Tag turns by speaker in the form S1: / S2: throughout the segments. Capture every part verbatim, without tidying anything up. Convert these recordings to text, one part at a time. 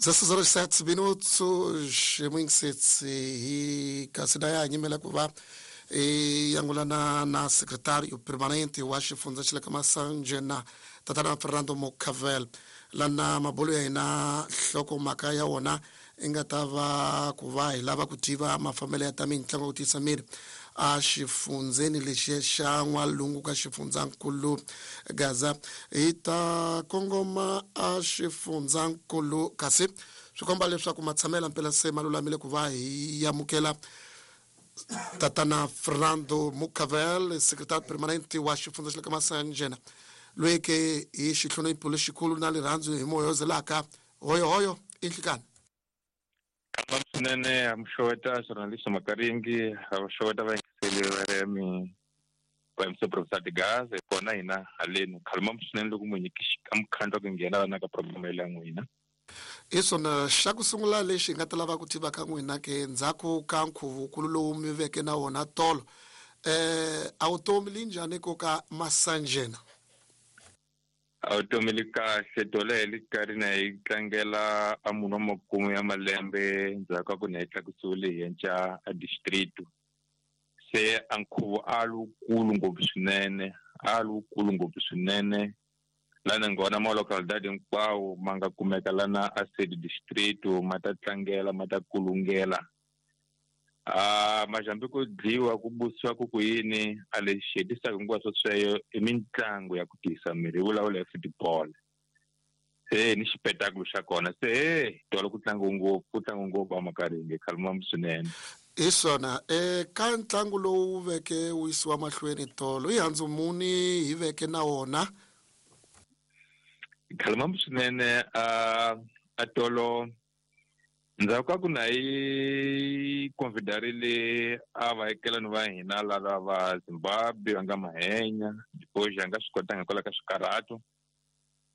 S1: dezesseis horas e sete minutos e kasi na ya nyimela ku va e yangulana na secretário permanente wa xifundza xa le ka Masanjena tatana Fernando Mucavel lana mabolo ya hina nhlokomhaka ya wona i nga ta va ku va hi lava ku tiva mafambelo ya ta mitlangu ku tiyisa miri a xifundzeni lexi xa n'walungu ka xifundzankulu Gaza hi ta kongoma a xifundzankulu kasi swi komba leswaku matshamelo mpela se ma lulamile ku va hi amukela tatana Fernando Mucavel secretário permanente wa xifundza xa le ka Masanjena loyi ke hi xihlonipho lexikulu na rirhandzu hi moya zelaka hoyohoyo i nhlikani.
S2: Swinene amxoweta journalist Makaringi amxoweta vayingiseli va remi va M C Professor Gaza kona hina haleni khalma swinene loko munhu amkhandla ku nghena vana ka program ya n'wina.
S1: I swona xa ku sungula lexi hi nga ta lava ku tiva ka n'wina ke ndzhaku ka nkhuvukulu lowu mi veke na wona tolo eh a vutomi li njhani ko ka Masanjena?
S2: A vutomi li kahle tolo hi li karhi na hi tlangela a munhu wa makume ya malembe ndzhaku ka ku na hi tlakusiwile hi yenca a distrito se a nkhuvo a lowukulu ngopfu swinene a lowukulu ngopfu swinene lana ngona ma localidade hinkwawo ma nga kumeka lana a sede distrito ma ta tlangela ma ta kulungela a majambi ku dliwa ku busiwa ku ku yini a lexi hetisaka hinkwaswo sweswo i mitlangu ya ku tiyisa miri hi vulavula hi football se ni xipetakulo xa kona se he tolo ku tlangiwe ngopfu ku tlangiwe ngopfu a Makaringi khalma swinene.
S1: Hi swona eka ntlangu lowu veke wu yisiwa mahlweni tolo i handzu muni hi veke na wona?
S2: Khalma swinene a a tolo ndzhaku ka ku na hi convidarile a vaekelani va hina lava va Zimbabwe va nga mahenya depois a nga swi kotanga hikwalaho ka swikarhato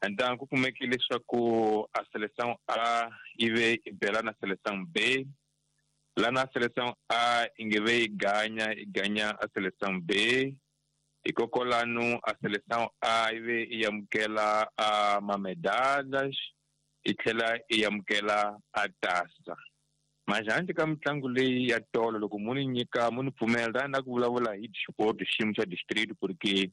S2: and ku kumekile leswaku a Seleção A yi ve i bela na Seleção B lana Seleção A i nge ve yi ganya yi ganya a Seleção B hikokwalano a Seleção A yi ve yi amukela a mamedalhas i tlhela i amukela a tasa. Majhandle ka mitlangu leyi ya tolo loko mu ni nyika mu ni pfumela na ku vulavula hi xiport xiyimo xa district porque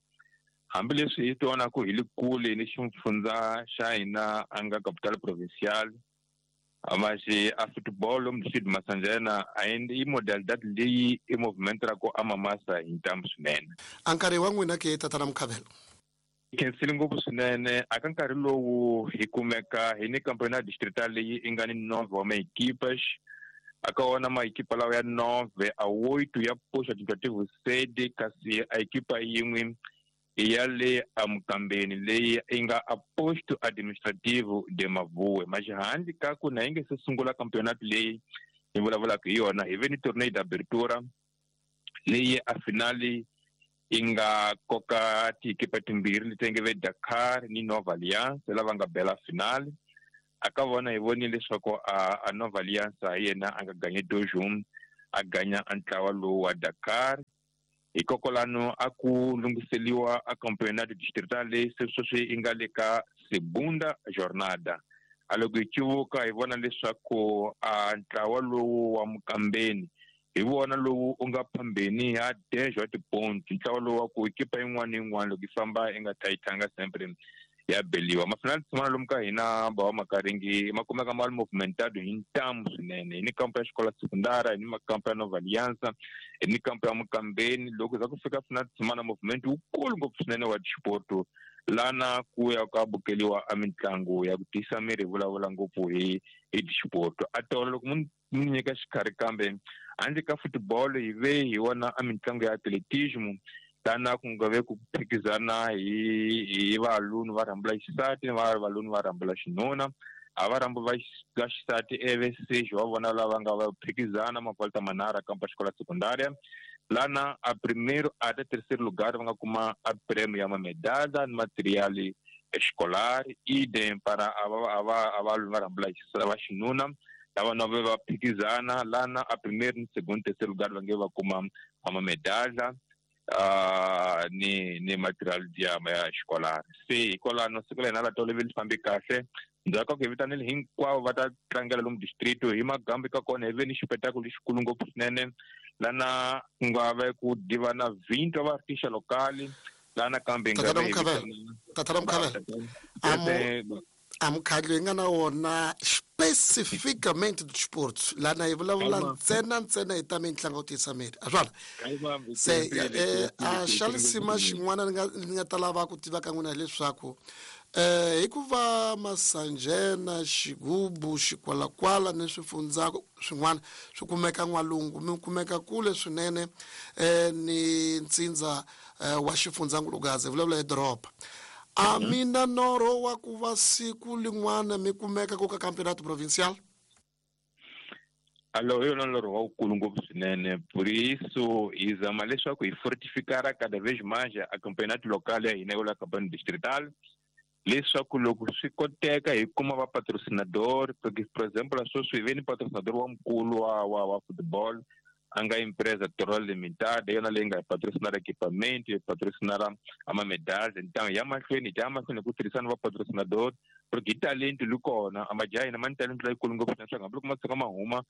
S2: hambileswi hi twana ku hi le kule ni xifundza xa hina a nga capital provincial maxi a football lomu district Masanjena a i modalidade leyi i movement ra ku amamasa hi ntamu swinene.
S1: A nkarhi wa n'wina ke tatana Mukhavelo?
S2: Khensile ngopfu swinene a ka nkarhi lowu hi kumeka hi ni campeonato distrital leyi i nga ni nove wa maequipas a ka wona maequipa lawa ya nove a oito ya posto administrativo sede kasi a equipa yin'we ya le amukambeni leyi i nga a posto administrativo de Mavuwe. Maxihandle ka ku na yi nge se sungula campeonato leyi hi vulavulaka hi yona hi ve ni torneio d'abertura leyi a finali i nga koka tiekipa timbirhi leti nge ve Dakar ni Nova Alliance lava nga bela finale a ka vona hi vonile leswaku a, a Nova Alliance hi yena a nga ganye dojum a ganya a ntlawa lowu wa Dakar hikokwalano a ku lunghiseliwa a campeonato distrital leyi se sweswi i nga le ka segunda jornada a loko hi civuka hi vona leswaku a ntlawa lowu wa Mukambeni hi vona lowu u nga phambeni ya dez wa tiponti ntlawa lowu wa ku ekipa yin'wana na yin'wana loko yi famba i nga tayitanga sempre ya beliwa mafinali tshimana lomu ka hina ba wa Makaringi ma kumeka ma ri movimentado hi ntamu swinene hi ni kampo ya xikola sekundara hi ni makampo ya Nova Aliança hi ni kampo ya Mukambeni loko za ku fika finali tshimana movement wukulu ngopfu swinene wa xipoto lana ku ya ka bukeliwa a mitlangu ya ku tiyisa miri hi vulavula ngopfu hi hi xipoto a tolo loko mu ni nyika xikarhi kambe handle ka football hi ve hi wona a mitlangu ya atletismo lana ku nga ve ku phikizana hi hi valunu va rhambula xisati ni va valunu va rhambula xinuna a va rhambu va xisati eve sejo wa vona lava nga va phikizana mavolta manharhu kampa xikola sekundaria lana a primeiro até terceiro lugar va nga kuma a prêmio ya mamedalha ni material escolar idem para a va a va va rhambula va xinuna lava na va phikizana lana a primeiro ni segundo terceiro lugar va nge va kuma a mamedalha uh, ni ni material ya ya escolar. Se hikwalano siku la hina la tolo vi fambi kahle. Ndzhaku ka ku hi vitanile hinkwavo va ta tlangela lomu distrito hi magambi ka kona hi ve ni xipetakulu lexikulu ngopfu swinene lana ku nga ve ku divana vinto va artista locali lana kambe nga
S1: Tatana Mukhavela, Tatana Mukhavela, amo a mukhandlu hi nga na wona especificamente do desporto lana hi vulavula ntsena ntsena hi ta mitlangu yo tiyisa miri a swona se eh, a xa lisima xin'wana ni nga ni nga ta lava ku tiva ka n'wina hileswaku eh hikuva Masanjena, Xigubu, Xikwalakwala ni swifundza swin'wana swi kumeka n'walungu mi kumeka kule swinene eh ni ntsindza eh, wa xifundzankulukazi hi vulavula hi doroba. A mina norho wa ku va siku lin'wana mi kumeka ku ka campeonato provincial?
S2: Alo, hi yona norho wa wukulu ngopfu swinene. Por isso hi zama leswaku hi fortificar cada vez mais a campeonato local ya hina yo la campeonato distrital, leswaku loko swi koteka hi kuma va patrocinador. Porque por exemplo sweswi hi ve ni patrocinador wa mukulu wa wa wa football a nga empresa Toral Limited, hi yona leyi nga hi patrocinara equipment, hi patrocinara a ma-medalha. Então hi ya mahlweni hi ta ya mahlweni hi ku tirhisana va patrocinador, porque hi talento li kona a majaha hina ma ni talento leyikulu ngopfu swinene, swa hambi loko ma tshuka ma huma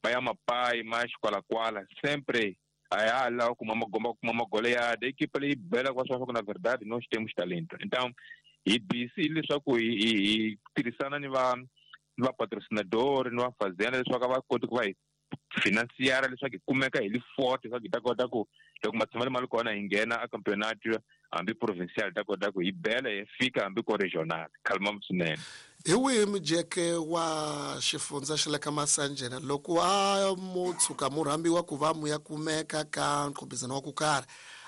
S2: ma ya mapayi ma ya xikwalakwala sempre a ya ha lava kuma magomba kuma magoleada equipa leyi belaka va swa ku na verdade nós temos talento. Então hi busy leswaku hi hi hi tirhisana ni va ni va patrocinador ni va fazenda leswaku a va koti ku va hi financiara leswaku hi kumeka hi li forte leswaku hi ta kota ku loko matshama ma ri kona hi nghena a campeonato hambi provincial hi ta kota ku hi bela hi fika hambi ko regional. Khalma swinene.
S1: Hi wihi mujeke wa xifundza xa le ka Masanjena loko a mo tshuka mu rhambiwa ku va mu ya kumeka ka nqhubizano wa ku karhi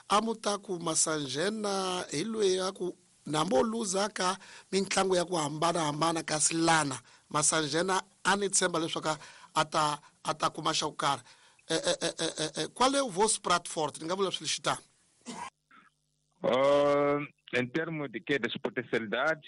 S1: a mu ta ku Masanjena hi loyi a ku nambo luza ka mitlangu ya ku hambanahambana kasi lana Masanjena a ni tshemba leswaku a ta a ta kuma xa ku karhi eh, eh, eh, eh, eh, qual é o vosso prato forte? Ni nga vula swilo xitano.
S2: Uh, em termos de que das potencialidades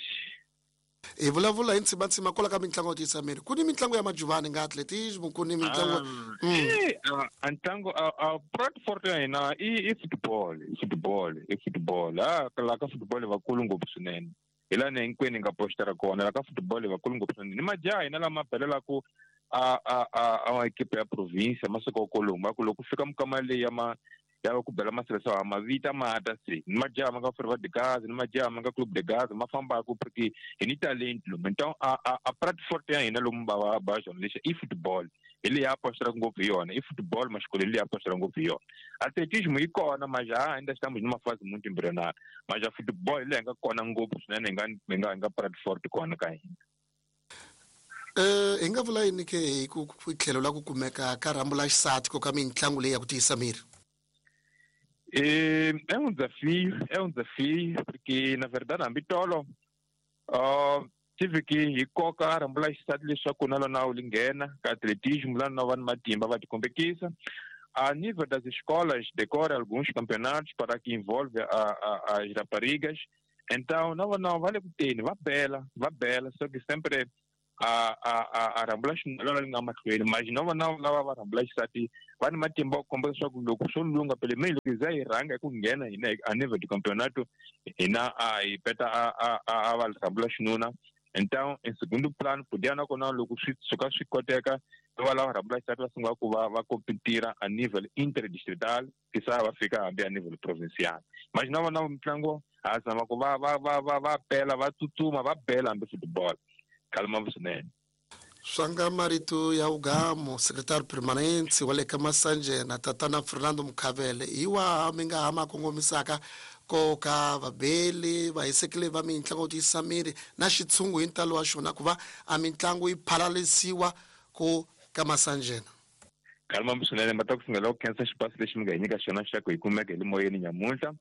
S1: hi vulavula hi ntsimantsima kwala ka mitlangu yo tiyisa miri ku ni mitlangu ya majuvani nga atletismo ku ni mitlangu
S2: mm. eh, a ntlangu a, a prato forte ya hina i, i football i football i football ah la ka football vakulu ngopfu swinene hi laha hinkwenu hi nga postera kona la ka football vakulu ngopfu swinene ni majaha hina lama belelaku a a a a equipe ya province masiku kolomu ku loko fika mukama leyi ya ma ya ku bela maseleção ma vita mata se ni majaha ma nga Ferva de Gaza ni majaha ma nga Clube de Gaza ma fambaka porque hi ni talento lomu. Então a a a prato forte ya hina lomu va va va jornalista i football hi leyi a postera ngopfu hi yona i football maxikolo hi leyi a postera ngopfu hi yona. Atletismo yi kona majaha ainda estamos numa fase muito embrionária, mas a football hi leyi nga kona ngopfu swinene hi nga hi nga hi nga prato forte kona ka hina.
S1: Eh hi nga vula yini ke hi ku tlhelo la ku kumeka ka rhambu la xisati ko ka mitlangu leyi ya ku tiyisa miri?
S2: É, é um desafio, é um desafio, porque na verdade hambi tolo uh, tive que hi koka rhambu la xisati leswaku na lona wu nghena ka atletismo lá na va ni matimba va tikombekisa. A nível das escolas decorre alguns campeonatos para que envolve a, a, as raparigas. Então não, não vale ku teni va bela va bela só que sempre a a a a rhambula xin'wana li nga mahlweni mas no vona lava va rhambula xisati va ni matimba ku komba leswaku loko swo lunga pele meyi loko hi za hi rhanga hi ku nghena hina a nível de campeonato hina a hi peta a a a va rhambula xinuna. Então em segundo plano podia nakona loko swi suka swi koteka va lava rhambula xisati va sungula ku va va competira a nível interdistrital kisa va fika hambi a nível provincial. Mas no vona mitlangu ha zama ku va va va va va pela va tsutsuma va bela hambi football. Kalma swinene.
S1: Swanga marito ya ugamo secretário permanente wa le ka Masanjena tatana Fernando Mukhavele hi waha mi nga ha ma kongomisaka ko ka vabeli vahisekeli va mitlangu yo tiyisa miri na xitshungu hi ntalo wa xona ku va a mitlangu yi phalalisiwa ku ka Masanjena?
S2: Kalma swinene ma ta ku sungula ku khensa xipasi lexi mi nga hi nyika xona xa ku hi kumeka hi le moyeni nyamuntlha.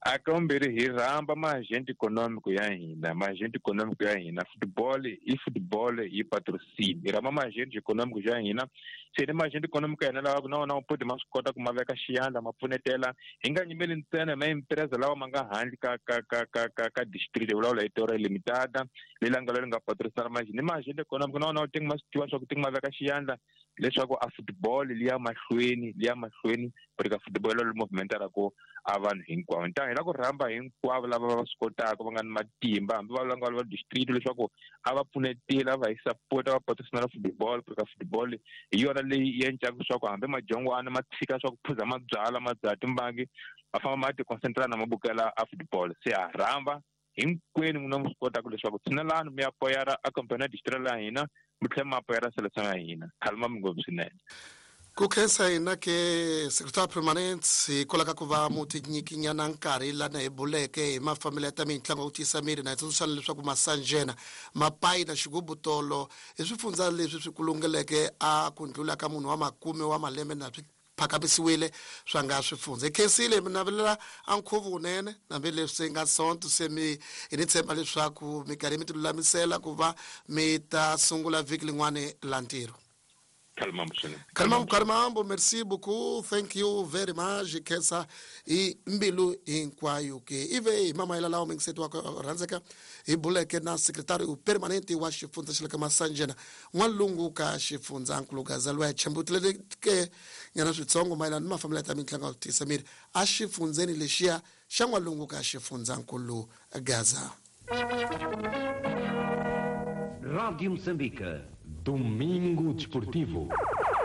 S2: A ka vumbirhi hi rhamba maagente econômico ya hina maagente econômico ya hina football i football yi patrocínio hi rhamba maagente econômico ya hina Se ni maagente econômico ya hina lawa na wona podi ma swi kota ku ma veka xiyandla ma pfunetela hi nga nyimeli ntsena ma empresa lawa ma nga handle ka ka ka ka ka ka district hi vulavula hi Torre Limitada leyi nga leri nga patrocinar ma ni maagente econômico na wona wu tingi ma swi tiva swa ku tingi ma veka xiyandla leswaku a football liya mahlweni liya mahlweni ku ri ka football lo movement ra ku a vanhu hinkwavo. Nta hi la ku rhamba hinkwavo lava va swi kotaka va nga ni matimba hambi va nga va district leswaku a va pfunetela va hi support va patrocinar football ku ri ka football hi yona leyi endlaka leswaku hambi madyongwana ma tshika swa ku phuza mabyala ma dzaha timbangi ma famba ma ti concentrate na mabukela a football. Se ha rhamba hinkwenu n'wina mi swi kotaka leswaku tshinelani mi ya poyara a campeonato distrital ya hina mi tlhela mi apoyara seleção ya hina. Khalima mi ngopfu swinene.
S1: Ku khensa hina ke secretary permanent hikwalaho ka ku va mu tinyikinyana nkarhi lana hi buleke hi mafambelo ya ta mitlangu ya ku tiyisa miri na hi tsundzuxana leswaku masanjena mapayi na xigubutolo i swifundza leswi swi kulungeleke a ku ndlula ka munhu wa makume wa malembe na swi phakamisiwile swa nga swifundza. Hi khensile mi navelela a nkhuvo wunene hambileswi se nga sonto se mi hi ni tshemba leswaku minkarhi mi ti lulamisela ku va mi ta sungula vhiki lin'wani la ntirho. Kalimambo, Kalimambo, merci beaucoup. Thank you very much. Khensa hi mbilu hinkwayo ke. Ive hi mamayela lawa mingiseti wa rhandzeka hi buleke na secretary permanente wa xifundza xa le ka Masanjena N'walungu ka xifundza nkulu Gaza loyi a tshembutileke nyana switsongo mayelana ni mafambelo ya ta mitlangu ya ku tiyisa miri a xifundzeni lexiya xa N'walungu ka xifundza nkulu Gaza.
S3: Rádio Moçambique.
S4: Domingo Desportivo.